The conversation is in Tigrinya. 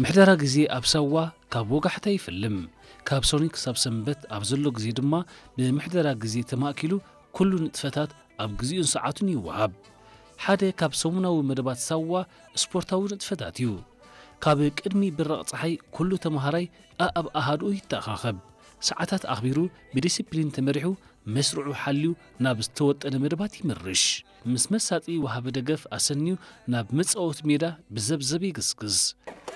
ምሕደራ ግዜ ኣብ ሳዋ ካብ ወጋሕታ ይፍልም። ካብ ሰኑይ ክሳብ ሰንበት ኣብ ዘሎ ግዜ ድማ ብምሕደራ ግዜ ተማእኪሉ ኩሉ ንጥፈታት ኣብ ግዜኡን ሰዓቱን ይወሃብ። ሓደ ካብ ሰሙናዊ መደባት ሳዋ ስፖርታዊ ንጥፈታት እዩ። ካብ ቅድሚ ብራቕ ጸሓይ ኩሉ ተመሃራይ ኣኣብ ኣሃድኡ ይተኣኻኸብ። ሰዓታት ኣኽቢሩ ብዲሲፕሊን ተመሪሑ መስርዑ ሓልዩ ናብ ዝተወጠነ መደባት ይምርሽ። ምስ መሳጢ ወሃቢ ደገፍ ኣሰንዩ ናብ መጻወቲ ሜዳ ብዘብዘብ ይግስግስ።